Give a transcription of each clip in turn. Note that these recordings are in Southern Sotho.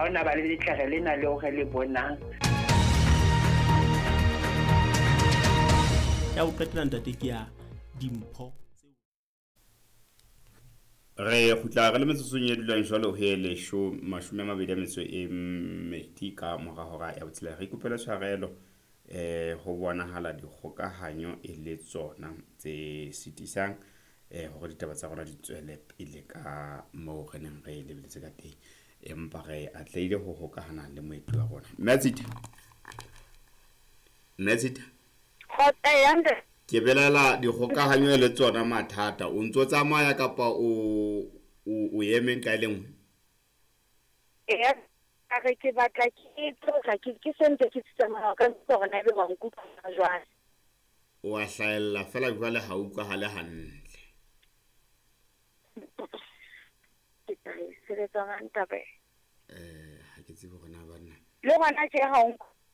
Hona ba le letlere lena leo re le bonang. Ya ho qetela ntate ke ya dimpho. Re kgutla re le metsotsong e dulang jwalo ho e lesho mashome a mabedi a metso e mmedi ka mora hora ya botshelela. Re ikopela tshwarelo ho bonahala dikgokahanyo e le tsona tse sitisang hore ditaba tsa rona di tswele pele ka moo re neng re lebeletse ka teng. Empa re atlehile ho hokahana le moeti wa rona. Mme Tshita. Mme Tshita. Ke belela dikgokahanyo le tsona mathata. O ntso tsamaya kapa o o eme ka e le nngwe? Eya, a re ke batla ke tlotla ke sentse ke tsamaya ka hore na ebe wa nkutlwa jwang. O a hlahella fela jwale ha utlwahale hantle. Ke tla e sebetsa jwang taba e? Ha ke tsebe hore na banna. Le hona tje ha o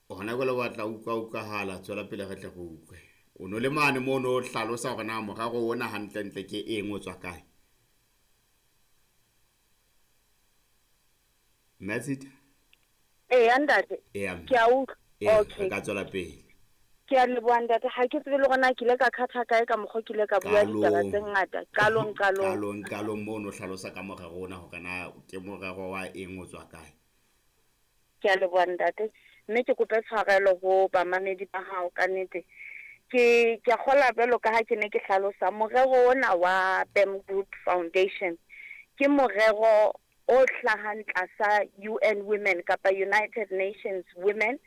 Hona jwale wa tla utlwa utlwahala, tswela pele re tle re utlwe. O no le mane moo no hlalosa hore na morero ona hantlentle ke eng, o tswa kae? Mme Tshita? Eya ntate. Eya. Ke a utlwa. Okay. Re ka tswela pele. Ke a leboha ntate, ha ke tsebe le hore na ke ile ka khatha kae ka mokgwa ke ile ka bua ditaba tse ngata. Qalong, qalong. Qalong, qalong moo no hlalosa ka morero ona hore na ke morero wa eng, o tswa kae. Ke a leboha ntate, mme ke kope tshwarelo ho bamamedi ba hao ka nnete. Ke a kgola jwalo ka ha ke ne ke hlalosa morero ona wa BAM Group Foundation ke morero o hlahang tlasa UN Women kapa United Nations Women,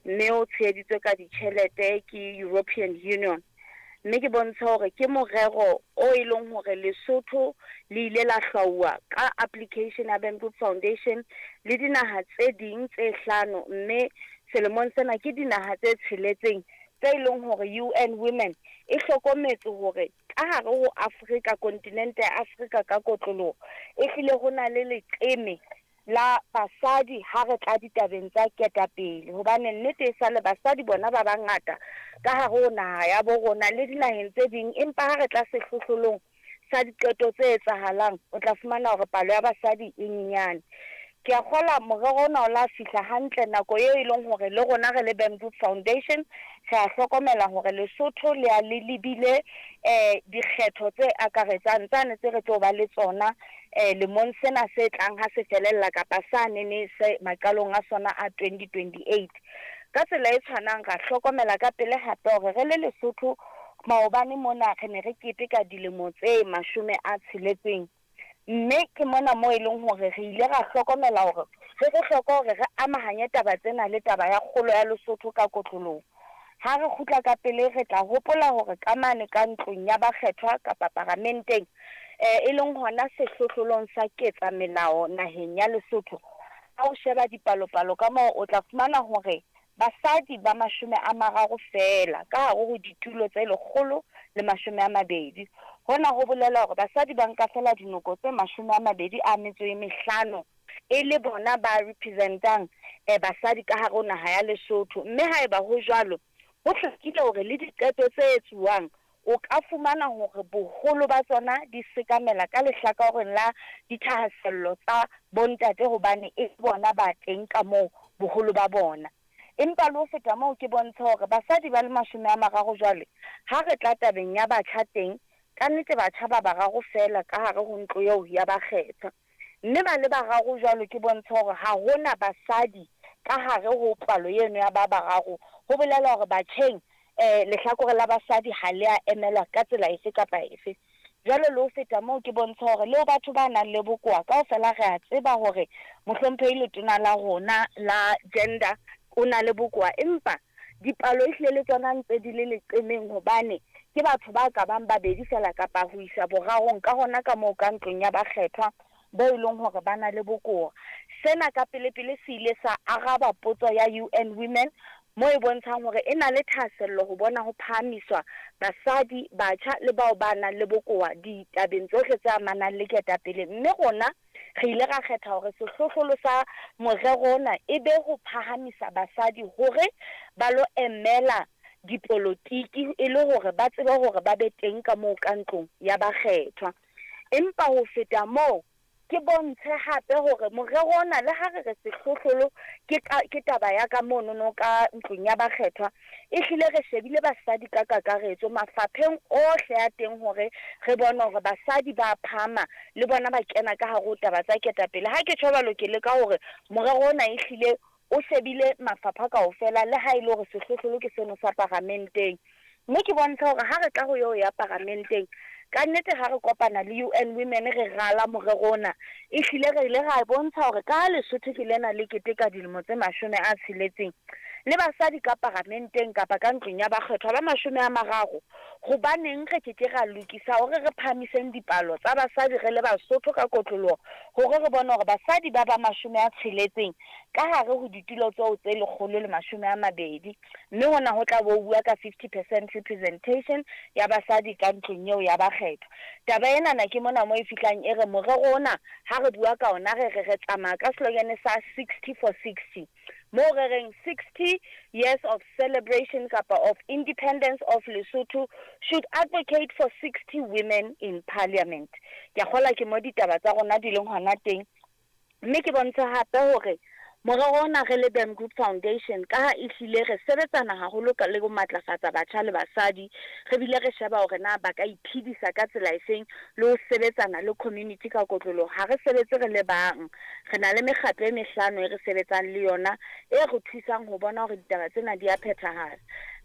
mme o tsheheditswe ka ditjhelete ke European Union. Mme ke bontshe hore ke morero o e leng hore Lesotho le ile la hlwauwa ka application ya BAM Group Foundation le dinaha tse ding tse hlano, mme selemong sena ke dinaha tse tsheletseng tse e leng hore UN Women e hlokometse hore ka hare ho Afrika, kontinente ya Afrika ka kotloloho, e hlile ho na le leqeme la basadi ha re tla ditabeng tsa ketapele, hobane nnete e sale basadi bona ba bangata ka hare ho naha ya bo rona le dinaheng tse ding, empa ha re tla sehlohlolong sa diqeto tse etsahalang o tla fumana hore palo ya basadi e nyenyane. Ke a kgola morero ona o la fihla hantle nako eo e leng hore le rona re le BAM Group Foundation re a hlokomela hore Lesotho le a le lebile dikgetho tse akaretsang tsane tse re tlo ba le tsona lemong sena se tlang ha se felella kapa sa nene se maqalong a sona a 2028. Ka tsela e tshwanang ra hlokomela ka pele hape hore re le Lesotho maobane mona re ne re keteka dilemo tse 60, mme ke mona moo e leng hore re ile ra hlokomela hore ho bohlokwa hore re amahanye taba tsena le taba ya kgolo ya Lesotho ka kotloloho. Ha re kgutla ka pele re tla hopola hore ka mane ka ntlong ya bakgethwa kapa paramenteng e leng hona sehlohlolong sa ketsa melao naheng ya Lesotho, ha o sheba dipalopalo ka moo o tla fumana hore basadi ba 30 feela ka hare ho ditulo tse 120. Hona ho bolela hore basadi ba nka fela dinoko tse 25 e le bona ba representang basadi ka hare ho naha ya Lesotho. Mme haeba ho jwalo, ho hlakile hore le diqeto tse etsuwang o ka fumana hore boholo ba tsona di sekamela ka lehlakoreng la dithahasello tsa bontate, hobane e bona ba teng ka moo boholo ba bona. Empa le ho feta moo ke bontshe hore basadi ba le 30 jwale ha re tla tabeng ya batjha teng, ka nnete batjha ba bararo feela ka hare ho ntlo eo ya bakgethwa. Mme ba le bararo jwalo ke bontshe hore ha hona basadi ka hare ho palo eno ya ba bararo. Ho bolela hore batjheng lehlakore la basadi ha le a emelwa ka tsela efe kapa efe. Jwale le ho feta moo ke bontshe hore le batho ba nang le bokowa kaofela re a tseba hore mohlomphehi letona la rona la gender o na le bokowa, empa dipalo ehlile le tsona ntse di le leqemeng hobane ke batho ba ka bang babedi fela kapa ho isa borarong ka hona ka moo ka ntlong ya bakgethwa bo e leng hore ba na le bokowa. Sena ka pele-pele se ile sa araba potso ya UN Women mo e bontshang hore e na le thahasello ho bona ho phahamiswa basadi, batjha le bao ba nang le bokowa ditabeng tsohle tse amanang le ketapele. Mme rona re ile ra kgetha hore sehlohlolo sa morero ona e be ho phahamisa basadi hore ba lo emela dipolotiki e le hore ba tsebe hore ba be teng ka moo ka ntlong ya bakgethwa. Empa ho feta moo Ke bontshe hape hore morero ona le ha re re sehlohlolo ke ka, ke taba ya ka monono ka ntlong ya bakgethwa, ehlile re shebile basadi ka kakaretso mafapheng ohle a teng hore re bone hore basadi ba phahama le bona ba kena ka hare ho taba tsa ketapele. Ha ke tjho jwalo ke leka hore morero ona ehlile o shebile mafapha kaofela le ha e le hore sehlohlolo ke seno sa paramenteng. Mme ke bontshe hore ha re tla ho eo ya paramenteng, ka nnete ha re kopana le UN Women re rala morero ona, ehlile re ile ra bontsha hore ka ha Lesotho ke lena le keteka dilemo tse 60, le basadi ka paramenteng kapa ka ntlong ya bakgethwa ba 30, hobaneng re ke ke ra lokisa hore re phahamiseng dipalo tsa basadi re le Basotho ka kotloloho hore re bone hore basadi ba ba 60 ka hare ho ditulo tseo tse 120. Mme hona ho tla bo ho bua ka 50 percent representation ya basadi ka ntlong eo ya bakgethwa. Taba enana ke mona mo e fihlang e re morero ona ha re bua ka ona re re re tsamaya ka slogan sa 60 for 60 moo re reng 60 years of celebration kapa of independence of Lesotho should advocate for 60 women in parliament. Ke a kgolwa ke mo ditaba tsa rona di leng hona teng. Mme ke bontshe hape hore morero ona re le Bam Group Foundation, kaha ehlile re sebetsana haholo ka le ho matlafatsa batjha le basadi, re bile re sheba hore na ba ka iphedisa ka tsela efeng le ho sebetsana le community ka kotloloho. Ha re sebetse re le bang, re na le mekgatlo e mehlano e re sebetsang le yona e re thusang ho bona hore ditaba tsena di a phethahala.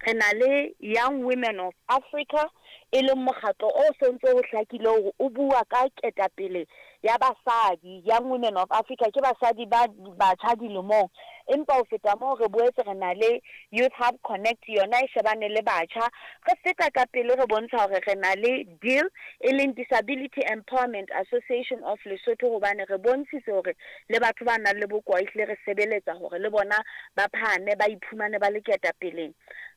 Re na le Young Women of Africa, e leng mokgatlo o so ntse ho hlakile hore o bua ka ketapele ya basadi, Young Women of Africa, ke basadi ba batjha dilemong. Empa ho feta moo, re boetse re na le Youth Hub Connect, yona e shebane le batjha. Re feta ka pele re bontsha hore re na le DEAL, e leng Disability Empowerment Association of Lesotho, hobane re bontshitse hore le batho ba nang le bokowa ehlile re sebeletsa hore le bona ba phahame, ba iphumane ba le ketapeleng.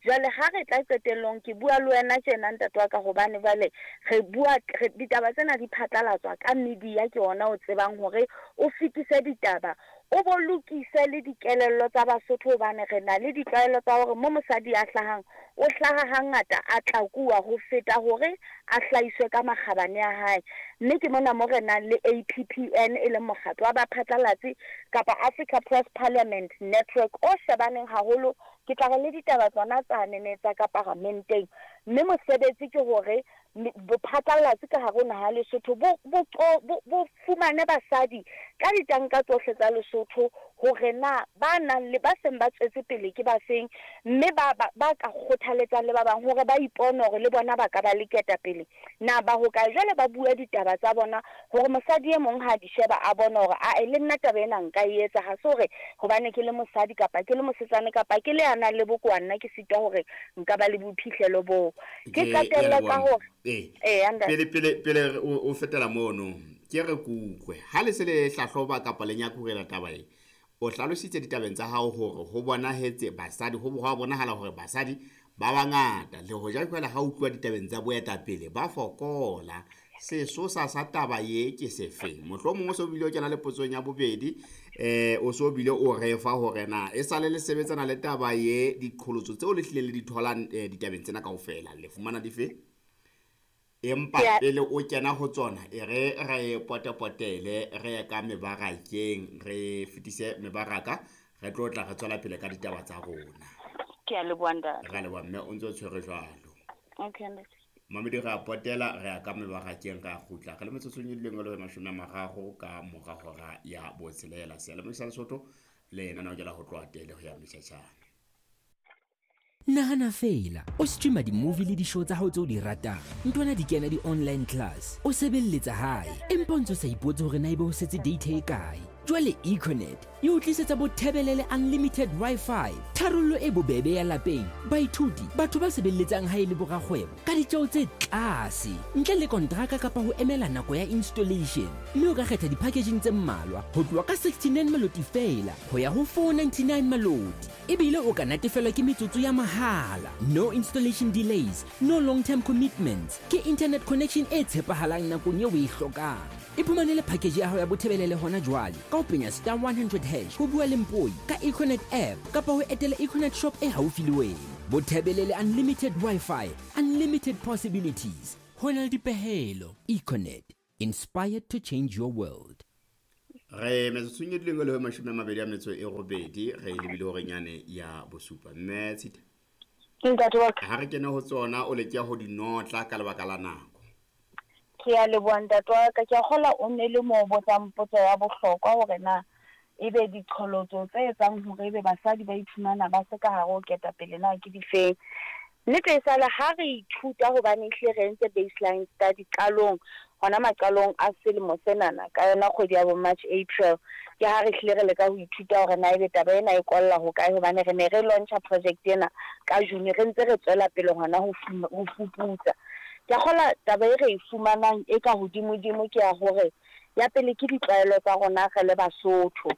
Jwale ha re tla qetellong, ke bua le wena tjena ntate wa ka, hobane jwale re bua re, ditaba tsena di phatlalatswa ka media, ke ona o tsebang hore o fetise ditaba, o bo lokise le dikelello tsa Basotho, hobane re na le ditlwaelo tsa hore mo mosadi a hlahang, o hlaha hangata a tlakuwa ho feta hore a hlahiswe ka makgabane a hae. Mme ke mona mo re nang le APPN, e leng mokgatlo wa baphatlalatsi kapa Africa Press Parliament Network o shebaneng haholo, ke tla re le ditaba tsona tsane ne tsa ka paramenteng. Mme mosebetsi ke hore bophatlalatsi ka hare ho naha ya Lesotho bo, bo, bo, bo fumane basadi ka ditanka tsohle tsa Lesotho hore na ba nang le ba seng ba tswetse pele ke ba feng, mme ba, ba, ba ka kgothaletsang le ba bang hore ba ipone hore le bona ba ka ba le ketapele. Na ba hokae? Jwale ba bua ditaba tsa bona hore mosadi e mong ha a di sheba a bone hore ae le nna taba ena nka e etsa, ha se hore hobane ke le mosadi kapa ke le mosetsane kapa ke le ya nang le bokowa nna ke sitwa hore nka ba le boiphihlelo boo. Ke qetelle ka hore ee, ee pele pele pele o fetela mono, ke re kutlwe ha le se le hlahloba kapa le nyakurela taba e, o hlalositse ditabeng tsa hao hore ho bonahetse basadi, ho ho bonahala hore basadi ba bangata le hoja jwale ha utlwa ditabeng tsa boetapele ba fokola. Sesosa sa taba ye ke sefeng? Mohlomong o so bile o kena le potsong ya bobedi, o so bile o re fa hore na e sale le sebetsana le taba ye, diqholotso tseo le hlileng le di tholang ditabeng tsena kaofela le fumana dife? Empa pele o kena ho tsona, e re re potepotele, re ye ka mebarakeng, re fetise mebaraka, re tlo tla re tswela pele ka ditaba tsa rona. Ke a leboha ntate. Re a leboha mme, o ntse o tshwere jwalo. Okay ntate. Mamedi re a potela, re ya ka mebarakeng, re a kgutla. Re le metsotsong e dileng e le 30 ka mora hora ya botshelela. Seyalemoya sa Lesotho le lenaneo ke la ho tloha tele ho ya metjhatjhane. Nahana feela, o streama di-movie le di-show tsa hao tse o di ratang, ntwana di kena di-online class, o sebelletsa hae, empa o ntse o sa ipotse hore na ebe ho setse data e kae. Jwale Econet e o tlisetsa bothebelele unlimited Wi-Fi, tharollo e bobebe ya lapeng, baithuti, batho ba sebelletsang hae le borakgwebo ka ditjeo tse tlase, ntle le kontraka kapa ho emela nako ya installation. Mme o ka kgetha di-packaging tse mmalwa ho tloha ka 69 maloti feela ho ya ho 499 maloti. Ebile o ka natefelwa ke metsotso ya mahala. No installation delays, no long-term commitments. Ke internet connection e tshepahalang nakong eo o e hlokang. Iphumanele package ya hao ya bothebelele hona jwale ka ho penya star 100 hash ho bua le Mpoi ka Econet app kapa ho etela Econet shop e haufi le wena. Bothebelele unlimited Wi-Fi, unlimited possibilities. Ho na le dipehelo. Econet, inspired to change your world. Re metsotsong e dileng e le 28 re lebile horeng yane ya bosupa. Mme Tshita, Ntate wa ka. Ha re kene ho tsona, o leke ho di notla ka lebaka la nako. Ke a leboha ntate wa ka. Ke a kgolwa o ne le mo botsang potso ya bohlokwa hore na ebe diqholotso tse etsang hore ebe basadi ba iphumana ba se ka hare ho ketapele na ke difeng. Nnete e sale ha re ithuta, hobane ehlile re entse baseline study qalong, hona maqalong a selemo senana, ka yona kgwedi ya bo March, April, ke ha re hlile re leka ho ithuta hore na ebe taba ena e kolla hokae, hobane re ne re launcha project ena ka June, re ntse re tswela pele hona ho fuputsa. Ke a kgolwa taba e re e fumanang e ka hodimodimo ke ya hore ya pele ke ditlwaelo tsa rona re le Basotho.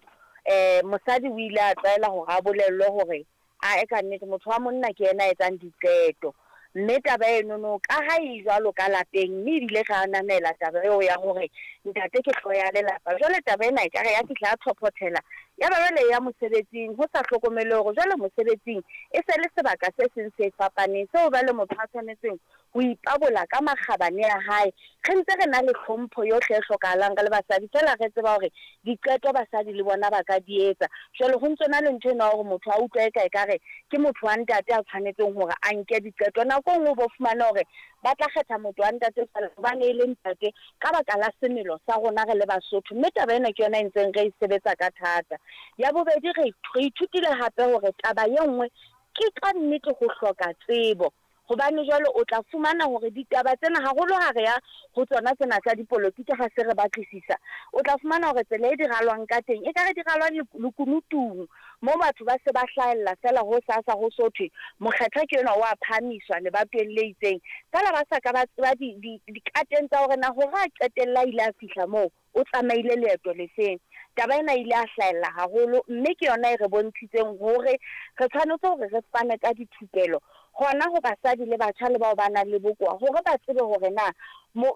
Mosadi o ile a tlwaela hore a bolellwe hore ae ka nnete motho wa monna ke yena a etsang diqeto. Mme taba enono ka ha e jwalo ka lapeng, mme ebile re ananela taba eo ya hore ntate ke hlooho ya lelapa. Jwale taba ena ekare ya fihla ya thophothela, ya ba jwale e ya mosebetsing, ho sa hlokomele hore jwale mosebetsing e se le sebaka se seng se fapaneng seo jwale motho a tshwanetseng ho ipabola ka makgabane a hae. Re ntse re na le hlompho yohle e hlokahalang re le basadi, feela re tseba hore diqeto basadi le bona ba ka di etsa. Jwale ho ntso na le ntho ena ya hore motho a utlwe eka ekare ke motho wa ntate a tshwanetseng hore a nke diqeto. Nako e nngwe o bo fumane hore ba tla kgetha motho wa ntate feela hobane e le ntate ka baka la semelo sa rona re le Basotho. Mme taba ena ke yona e ntseng re e sebetsa ka thata. Ya bobedi, re ithutile hape hore taba e nngwe ke ka nnete ho hloka tsebo. Hobane jwale o tla fumana hore ditaba tsena, haholo ha re ya ho tsona tsena tsa dipolotiki, ha se re batlisisa, o tla fumana hore tsela e di ralwang ka teng ekare di ralwa lekunutung, moo batho ba se ba hlahella feela ho sasa ho so thwe mokgethwa ke enwa o a phahamiswa lebatoweng le itseng, feela ba sa ka ba tseba dikateng tsa hore na hore a qetelle a ile a fihla moo o tsamaile leeto lefeng. Taba ena e ile ya hlahella haholo, mme ke yona e re bontshitseng hore re tshwanetse hore re fane ka dithupelo hona ho basadi le batjha le bao ba nang le bokowa, hore ba tsebe hore na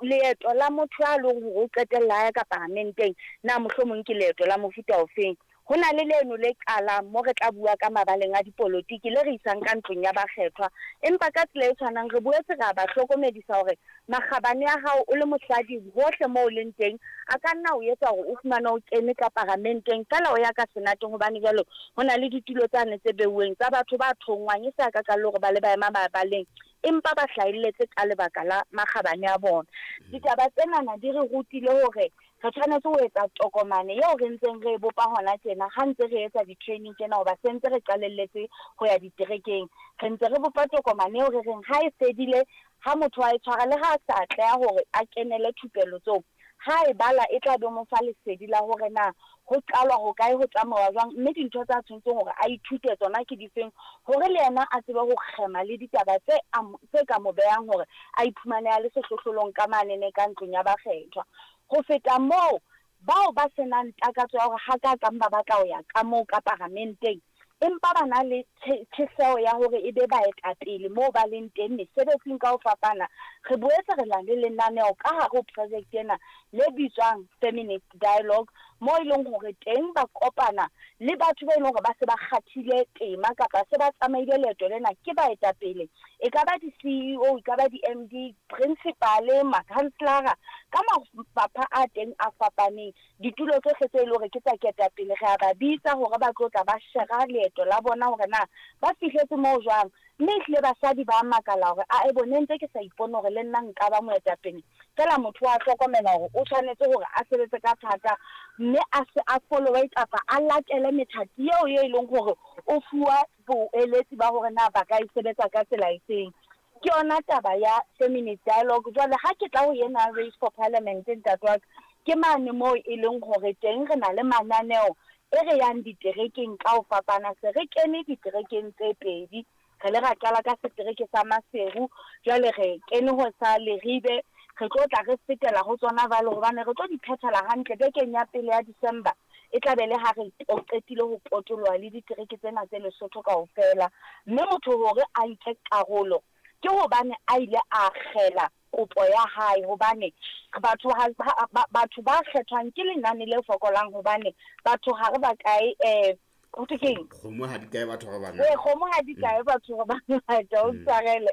leeto la motho ya leng hore o qetella a ya ka paramenteng na mohlomong ke leeto la mofuta ofeng. Ho na le leno le qalang mo re tla bua ka mabaleng a dipolotiki le re isang ka ntlong ya bakgethwa. Empa ka tsela e tshwanang re boetse re a ba hlokomedisa hore makgabane a hao o le mosadi hohle moo o leng teng a ka nna o etsa hore o fumane o kene ka paramenteng feela o ya ka senateng, hobane jwale ho na le ditulo tsane tse beuweng tsa batho ba thonngwang e se a ka ka le hore ba le ba ema mabaleng, empa ba hlahelletse ka lebaka la makgabane a bona. Ditaba tsenana di re rutile hore re tshwanetse ho etsa tokomane eo re ntseng re e bopa hona tjena ha ntse re etsa di-training tjena, hoba se ntse re qalelletse ho ya diterekeng. Re ntse re bopa tokomane eo re reng ha e fedile, ha motho a e tshwara le ha a sa atleha hore a kenele thupelo tseo, ha e bala e tla be mo fa lesedi la hore na ho qalwa hokae, ho tsamauwa jwang, mme dintho tsa tshwanetseng hore a ithute tsona ke difeng, hore le yena a tsebe ho kgema le ditaba tse ka mo behang hore a iphumane a le sehlohlolong ka manene ka ntlong ya bakgethwa. Ho feta moo, bao ba senang takatso ya hore hakakang ba batla ho ya ka moo ka paramenteng, empa ba na le tjheseho ya hore e be baetapele moo ba leng teng mesebetsing ka ho fapana, re boetse re na le lenaneo ka hare ho project ena le bitswang Feminist Dialogue, moo e leng hore teng ba kopana le batho ba e leng hore ba se ba kgathile tema kapa se ba tsamaile leeto lena ke baetapele, e ka ba di-CEO, e ka ba di-MD, principal, makhanselara, ka mafapha a teng a fapaneng. Ditulo tsohle tse e leng hore ke tsa ketapele re a ba bitsa hore ba tlo tla ba shera leeto la bona hore na ba fihletse moo jwang. Mme ehlile basadi ba makala hore ae bo, ne ntse ke sa ipone hore le nna nka ba moetapele. Feela motho wa hlokomela hore o tshwanetse hore a sebetse ka thata, mme a se a followe kapa a latele methati eo e leng hore o fuwa boeletsi ba hore na ba ka e sebetsa ka tsela efeng. Ke yona taba ya Feminist Dialogue. Jwale ha ke tla ho ena Race for Parliament, ntate wa ka, ke mane moo e leng hore teng re na le mananeo e re yang diterekeng ka ho fapana. Se re kene diterekeng tse pedi, re le ra qala ka setereke sa Maseru, jwale re kene ho sa Leribe, re tlo tla re fetela ho tsona jwale hobane re tlo di phethela hantle bekeng ya pele ya December. E tla be le ha re qetile ho potoloha le ditereke tsena tse Lesotho kaofela. Mme motho hore a nke karolo ke hobane a ile a kgela kopo ya hae, hobane batho batho ba kgethwang ke lenane le fokolang, hobane batho ha re ba kae, ho thwe keng? Kgomo ha di kae batho ba bangata. Kgomo ha di kae batho ba bangata, o tshwarele.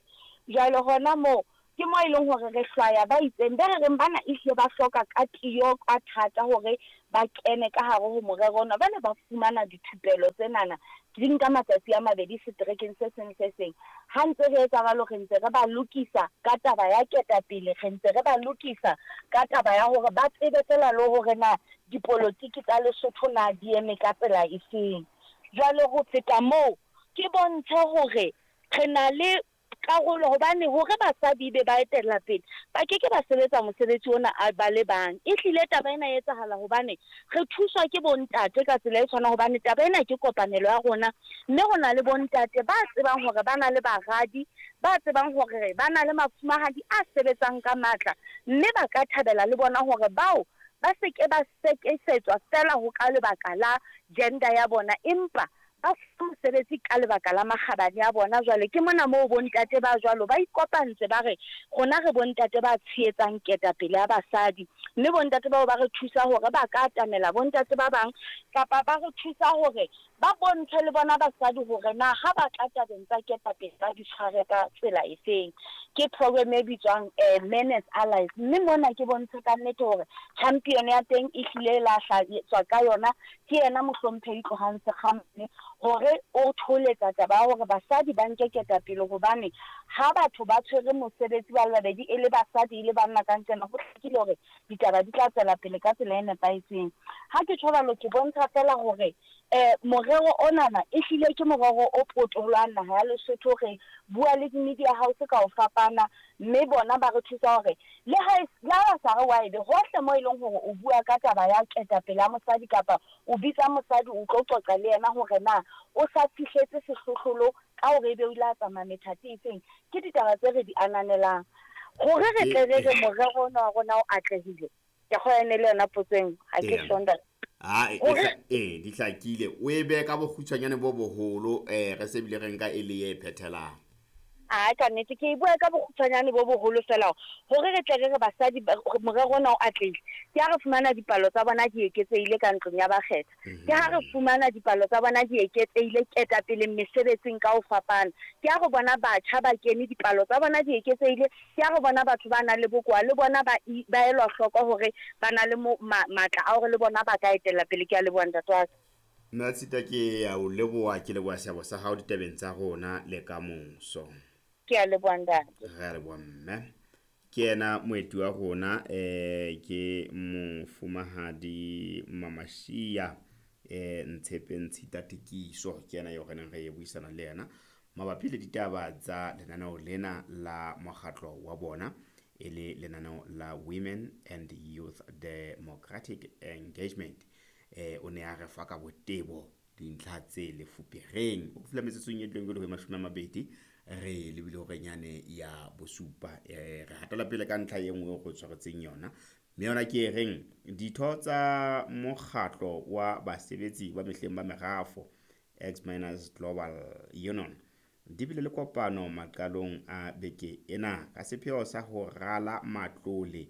Jwale hona moo ke mo e leng hore re hlwaya ba itseng, be re reng bana ehlile ba hloka ka tiyo ka thata hore ba kene ka hare ho morero ona. Ba ne ba fumana dithupelo tsenana di nka matsatsi a mabedi seterekeng se seng se seng. Ha ntse re etsa jwalo, re ntse re ba lokisa ka taba ya ketapele, re ntse re ba lokisa ka taba ya hore ba tsebe feela le hore na dipolotiki tsa Lesotho na di eme ka tsela efeng. Jwale ho feta moo, ke bontshe hore re na le karolo, hobane hore basadi ebe ba etella pele, ba ke ke ba sebetsa mosebetsi ona a ba le bang. E hlile taba ena e etsahala hobane re thuswa ke bontate ka tsela e tshwanang, hobane taba ena ke kopanelo ya rona, mme ho na le bontate ba tsebang hore ba na le baradi, ba tsebang hore ba na le mafumahadi a sebetsang ka matla, mme ba ka thabela le bona hore bao ba se ke ba sekesetswa feela ho ka lebaka la gender ya bona, empa ba fuwa mosebetsi ka lebaka la makgabane a bona. Jwale ke mona moo bontate ba jwalo ba ikopantse, ba re rona re bontate ba tshehetsang ketapele ya basadi, mme bontate bao ba re thusa hore ba ka atamela bontate ba bang, kapa ba re thusa hore ba bontshe le bona basadi hore na ha ba tla tabeng tsa ketapele ba di tshware ka tsela efeng. Ke program e bitswang Men as Allies, mme mona ke bontshe ka nnete hore champion ya teng e hlile la hlatswa ka yona ke yena mohlomphehi Tlohang Sekgamane, hore o tholetsa taba ya hore basadi ba nke ketapele, hobane ha batho ba tshwere mosebetsi ba le babedi, e le basadi e le banna ka nqena, ho hlakile hore ditaba di tla tswela pele ka tsela e nepahetseng. Ha ke tjho jwalo, ke bontsha feela hore morero onana e hlile ke morero o potolohang naha ya Lesotho. Re bua le di-media house ka ho fapana, mme bona ba re thusa hore le ha le ha ba sa re wa ebe hohle mo e leng hore o bua ka taba ya ketapele ya mosadi, kapa o bitsa mosadi o tlo qoqa le yena hore na o sa fihletse sehlohlolo ka hore ebe o ile a tsamaya methati efeng. Ke ditaba tse re di ananelang hore re tle re re morero ona wa rona o atlehile. Ke kgona le yona potso eng, ha ke sure ntate. Ee, di hlakile. O e behe ka bokgutshwanyane bo boholo, re se bile re nka e le e phethelang. A ka nnete ke e bua ka bokgutshwanyane bo boholo feela hore re tle re re basadi morero ona o atlehile. Ke ha re fumana dipalo tsa bona di eketsehile ka ntlong ya bakgetha, ke ha re fumana dipalo tsa bona di eketsehile ketapeleng mesebetsing ka ho fapana, ke ha re bona batjha ba kene dipalo tsa bona di eketsehile, ke ha re bona batho ba nang le bokowa le bona ba elwa hloko hore ba na le matla a hore le bona ba ka etella pele. Ke a leboha ntate wa ka. Mme Tshita, ke a o leboha, ke leboha seabo sa hao ditabeng tsa rona le ka moso. Ke a leboha ntate. Re a leboha mme. Ke yena moeti wa rona, ke mofumahadi Mamashia Ntshepe Ntshita Tikiso, ke yena eo re neng re buisana le yena mabapi le ditaba tsa lenaneo lena la mokgatlo wa bona, e le lenaneo la Women and Youth Democratic Engagement. O ne a re fa ka botebo dintlha tse lefupereng. O fihla metsotsong e dileng jwalo ho 20 re lebile hore nyane ya bosupa. Re hatela pele ka ntlha e nngwe go tshwaretseng yona, mme yona ke e reng ditho tsa mokgatlo wa basebetsi ba mehleng ba merafo Ex-Miners Global Union di bile le kopano maqalong a beke ena ka sepheo sa ho rala matlole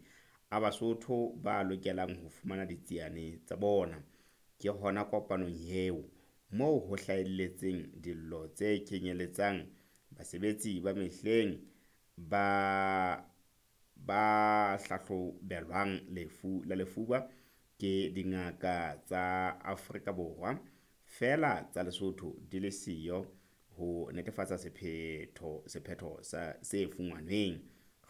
a Basotho ba lokelang ho fumana ditsiane tsa bona. Ke hona kopanong eo moo ho hlahelletseng dillo tse kenyeletsang basebetsi ba mehleng ba hlahlobelwang lefu la lefuba ke dingaka tsa Afrika Borwa, feela tsa Lesotho di le siyo ho netefatsa sephetho sa se fumanweng.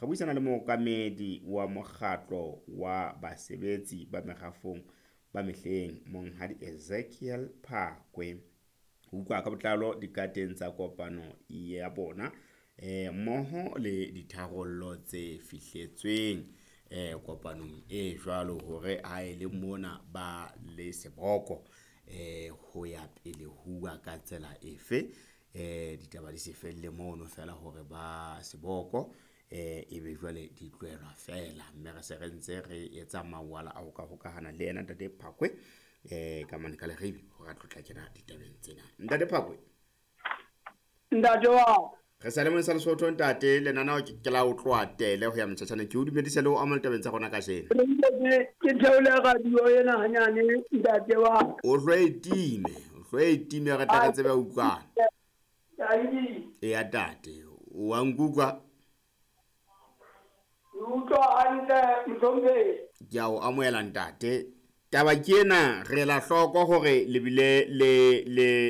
Re buisana le mookamedi wa mokgatlo wa basebetsi ba merafong ba mehleng, Monghadi Ezekiel Phakwe, ho utlwa ka botlalo dikateng tsa kopano ya bona, mmoho le ditharollo tse fihletsweng kopanong e jwalo, hore ha e le mona ba le seboko ho ya pele huwa ka tsela efe. Ditaba di se felle mono feela hore ba seboko ebe jwale di tlohelwa feela, mme re se re ntse re etsa mawala a ho ka hokahana le yena Ntate Phakwe ka mane ka Leribe hore a tlo tla kena ditabeng tsena. Ntate Phakwe. Ntate wa re sa le mone sa Lesotho ntate, lenaneo ke la o tloha tele ho ya motjhatjhaneng. Ke o dumedise le ho amohela ditabeng tsa rona kajeno. Ke theole radio ena hanyane ntate wa. O hlo e time re tla re tsebe ho utlwana. Eya tate, o a nkutlwa? Utlwa hantle mohlomphehi. Ke a o amohela ntate. Taba ke ena, re ela hloko hore le bile le le